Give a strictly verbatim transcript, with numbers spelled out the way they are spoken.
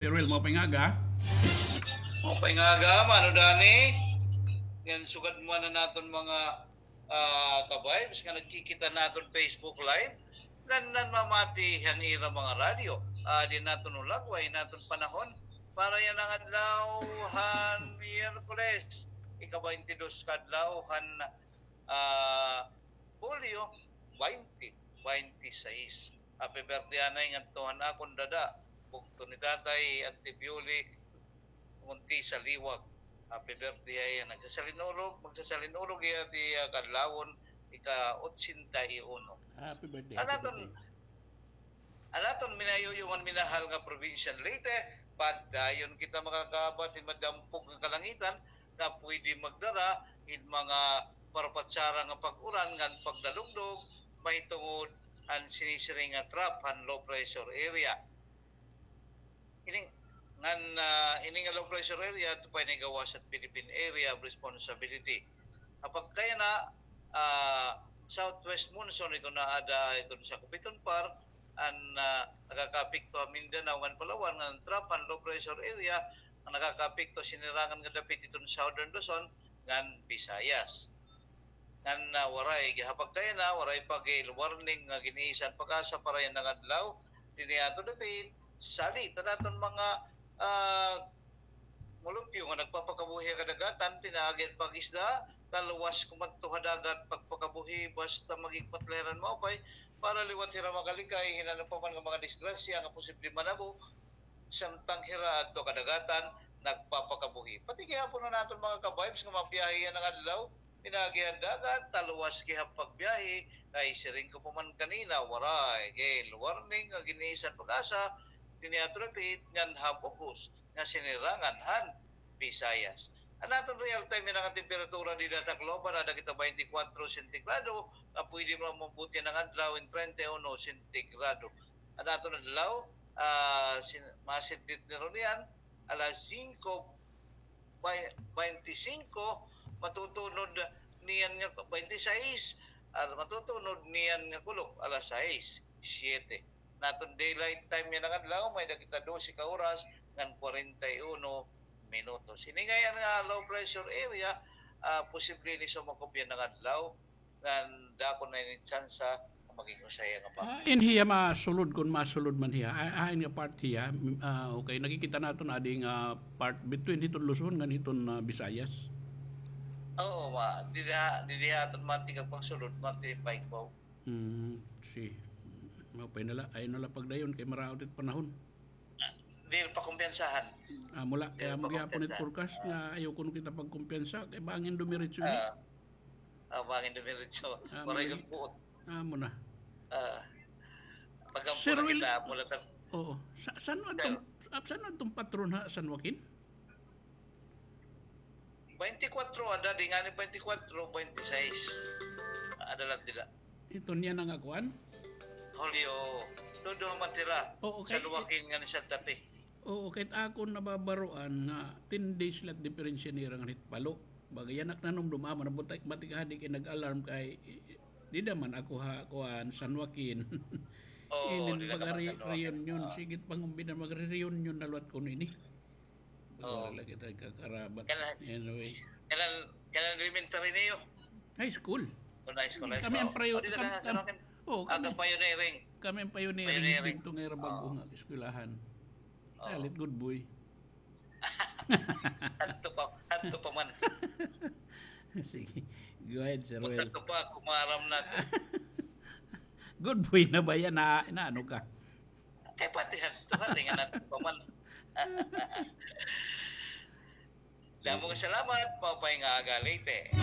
Sir Will, maupay nga aga. Maupay nga aga, Mano Danny. Ngan sugad man an aton mga, ah, ka-vibes nga nagkikita han aton Facebook Live, ngan nanmamati han ira mga radyo. Ah, di naton ulagway an aton panahon para yana nga adlaw han Miyerkules, ika-baynte dos ka adlaw han, ah, Hulyo baynte, baynte sais. Happy birthday anay ngadto han akon dada, bugto ni tatay, Auntie Bioli Montisa Liwag. Happy birthday, ay, nagsasalin-urog, magsasalin-urog hiya ti, ah, kadlawon, ika-otsenta y uno. Happy birthday, happy birthday. An aton, an aton minayuyong ngan minahal nga Probinsya han Leyte, padayon kita makakaabat hin madampog nga kalangitan nga pwede magdara hin mga parapatsara nga pag-uran ngan pagdalugdog mahitungod han sinisiring nga trough han low pressure area. Ini, ngan, ah, ini nga low pressure area, ito pa ini gawas han Philippine Area of Responsibility. Ha pagkayana, ah, southwest monsoon, ito na ada, ito sa Kupiton Par, an, ah, nakakaapekto ha Mindanao ngan Palawan, ngan trough han low pressure area, an nakakaapekto sinirangan nga dapit iton Southern Luzon, ngan Visayas. Ngan, ah, waray, ha pagkayana, waray pa gale warning nga gin-iisan PAGASA para yana nga adlaw, dinhi ha aton dapit, salit an aton mga, ah, mulupyo nga nagpapakabuhi ha kadagatan, pinaagi han pag-isda, talwas kumadto ha dagat, pagpakabuhi, basta maghigpat la hira hin maupay, para liwat hira makalikay hin ano pa man nga mga disgrasya nga posible manabo, samtang hira adto ha kadagatan, nagpapakabuhi. Pati gihapon an aton mga ka-vibes nga mabiyahe yana nga adlaw, pinaagi han dagat, talwas gihap pagbiyahe, kay siring ko pa man kanina, waray gale warning nga gin-iisan PAGASA, dinhi ha aton dapit, ngan ha bug-os nga sinirangan han Visayas. An aton real time yana nga temperatura dinhi ha Tacloban, ada kita baynte kwatro sentigrado, nga pwede man maabot yana nga adlaw hin treinta y uno sentigrado. An aton adlaw, ah, sin-, mga sentitnero niyan, alas singko, bay-, baynte singko, matutunod niyan nga baynte sais, ah, matutunod niyan nga kulop, alas sais, siyete. An aton daylight time yana nga adlaw, may-ada kita dose ka oras ngan kwarenta y uno minutos. Ini ngay-an nga low pressure area, ah, posible ini sumakob yana nga adlaw, ngan dako na ini tsansa nga maging usa hiya nga bagyo. Ah, in hiya masulod, kon masulod man hiya. Ah, ah, in nga part hiya, mm, ah, okay, nakikita naton adi nga part between hiton Luzon ngan hiton, ah, Visayas. Oo, ma, didi ha, didi ha aton man ti pagsulod, man ti paikbaw. Hmm, si. Maupay na la, ayaw na la pagdayon kay maraot it panahon. Diri pa kumpiyansahan. Amo la, kay amo gihapon it forecast nga ayaw kuno kita pagkumpiyansa kay bangin dumiretso ini. Ah, bangin dumiretso. Waray gud buot. Amo na. Ah, pag-ampo na kita, amo la ta. Oo. San-o adtong, san-o adtong patron ha San Joaquin? Baynte kwatro ada, di ngani baynte kwatro, baynte sais. Ada la dida. Ito niya na nga kuan? Hulyo, duduha man hira. Oo, kay San Joaquin ngan Santa Fe. Oo, kay akon nababaroan nga ten days la it diperensya nira ngan hit Palo. Baga yana ak nanumdom, amo na butik, batik hadi kay nag-alarm kay dida man ako ha kuan, San Joaquin. Oo, inin dida baga ka man re-, San Joaquin. Reunion, sige it pangumbinan, magre-reunion na liwat kuno ini. Baga la kita nagkakarabat. Anyway. Kanan, kanan elementary niyo? High school. Kun high school, high school. Kami an pioneering. Oo, kami. Pioneering. Kami an pioneering didto nga ira bag-o nga eskwelahan. Oo. Salit, good boy. Hadto pa, hadto pa man. Sige. Go ahead, Sir Will. Hadto pa, kumaram na. Good boy na ba yana? Na, naano ka? Kay pati hadto, hali nga nato pa man. Damo nga salamat, maupay nga aga, Leyte.